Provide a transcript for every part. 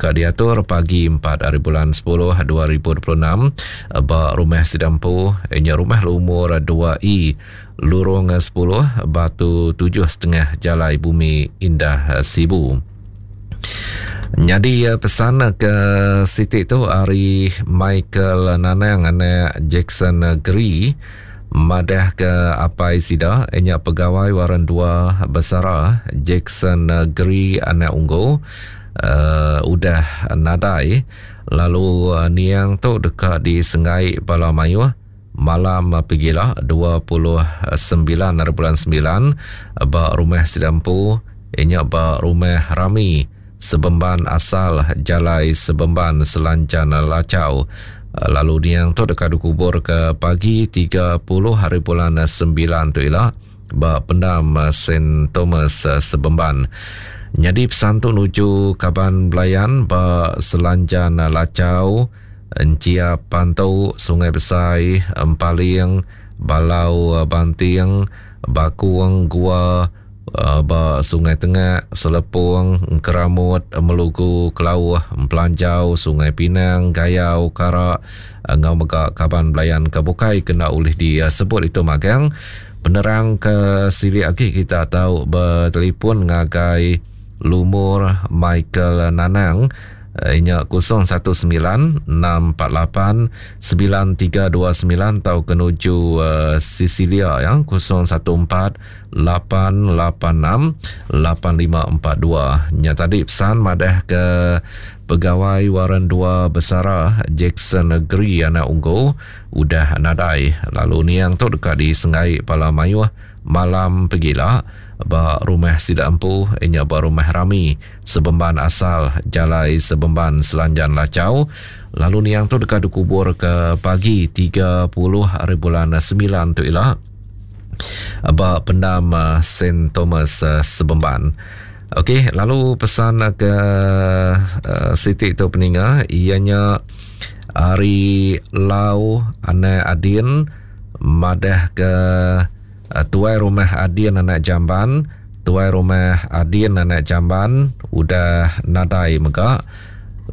Deka diatur pagi 4 hari bulan 10 2026 ba Rumah Sida Empu nya Rumah Lumur 2E Lurung 10 Batu 7 setengah Jalai Bumi Indah Sibu. Nyadi pesan ke siti tu ari Michael Nanang anak Jackson Geri madah ke apai sida nya pegawai Waren Dua Besara Jackson Geri anak Unggu uh, udah nadai lalu niang tu deka disenggai bala mayuh malam pegila 29 hari bulan 9 ba rumah sida empu inya ba rumah Rami Sebemban asal Jalai Sebemban Selanjan Lachau lalu niang tu deka dikubur ke pagi 30 hari bulan 9 tu ila ba pendam Saint Thomas Sebemban. Nyadi pesan tu nuju kaban belayan ba Selanjan Lachau Enchiap Pantu, Sungai Besai, Empaling, Balau Banting, Bakung, Gua, ba Sungai Tengah, Selepong, Engkeramut, Melugu, Kelauh, Empelanjau, Sungai Pinang, Gayau, Kara enggau mega kaban belayan ke bukai ke enda ulih disebut itu magang. Penerang ke silik agi kita tau betelefon ngagai lumur Michael Nanang Inya 019 648 9329 tauka nuju uh, Sicilia ya 014 886 8542. Nya tadi pesan madah ke pegawai Waren 2 Besara Jackson Negeri anak Unggu udah nadai lalu niang tu deka disenggai pala mayuh malam pegila ba rumah sida empu inya ba rumah rami Sebemban asal Jalai Sebemban Selanjan Lachau lalu niang tu deka dikubur ke pagi 30 hari bulan 9 tu ila ba pendam eh, St Thomas eh, Sebemban. Okey, lalu pesan ke uh, siti tu peninga ianya ari Lau anak Adin madah ke Tuai Rumah Adin anak Jamban, Tuai Rumah Adin anak Jamban udah nadai mega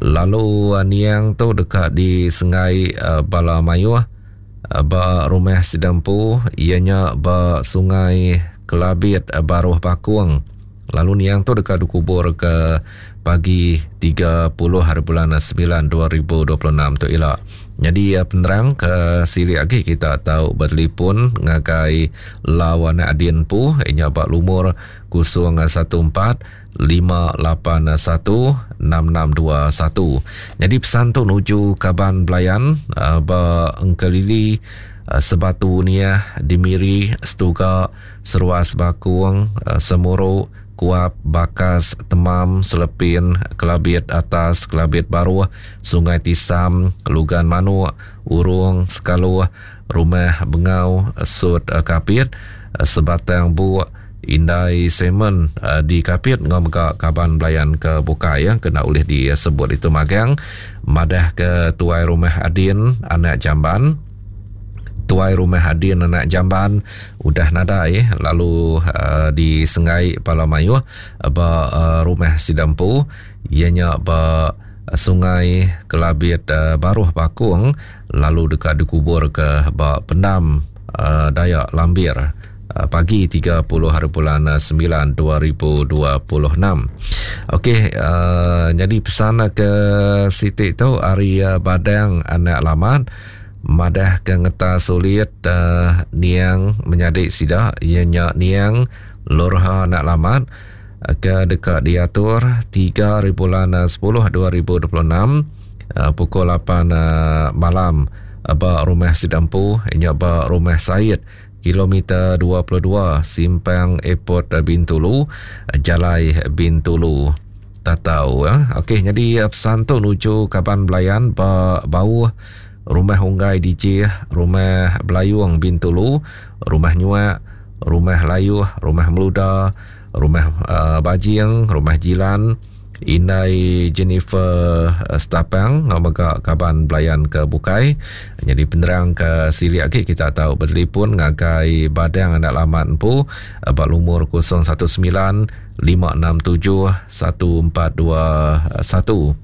lalu niang tu deka disenggai bala mayuh ba rumah sida empu iya nya ba Sungai Kelabit Baruh Bakong lalu niang tu deka dikubur ke pagi 30 hari bulan 9 2026 tu ila. Nyadi penerang ke silik agi kita tau betelefon ngagai Lau anak Adin empu inya ba lumur 014 581 6621. Nyadi pesan tu nuju kaban belayan ba Engkelili Sebatu Niah di Miri Setuga Seruas Bakung Semuru Kuap, Bakas, Temam, Selepin, Kelabit Atas, Kelabit Baruh, Sungai Tisam, Lugan Manuk, Urung, Sekaluh, Rumah Bengau, Sut Kapit, Sebatang Buk, Indai Simon di Kapit enggau mega kaban belayan ke bukai ke enda ulih disebut ditu magang madah ke tuai rumah Adin anak Jamban. Tuai Rumah Adin anak Jamban udah nadai lalu uh, disenggai pala mayuh ba uh, rumah sida empu iya nya ba Sungai Kelabit uh, Baruh Bakung lalu deka dikubur ke ba pendam uh, Dayak Lambir uh, pagi 30 hari bulan 9 2026. Okey, uh, jadi pesan ke siti tu ari uh, Badang anak Lamat Madah ke ngeta sulit niang menyadi sida iya nya niang Lorha anak Lamat ke deka diatur 3 hari bulan 10 2026 pukul 8 malam ba rumah sida empu nya ba Rumah Said kilometer 22 simpang Airport Bintulu Jalai Bintulu Tatau. Okey nyadi pesan tu nuju kaban belayan ba Bauh Rumah Unggai Dijih, Rumah Belayung Bintulu, Rumah Nyuak, Rumah Layuh, Rumah Meluda, Rumah uh, Bajing, Rumah Jilan, Indai Jennifer eh, Stapang enggau mega kaban belayan ke bukai. Nyadi penerang ke silik agi kita tau betelefon ngagai Badang Anak Lamat empu eh, ba lumur 019 567 1421.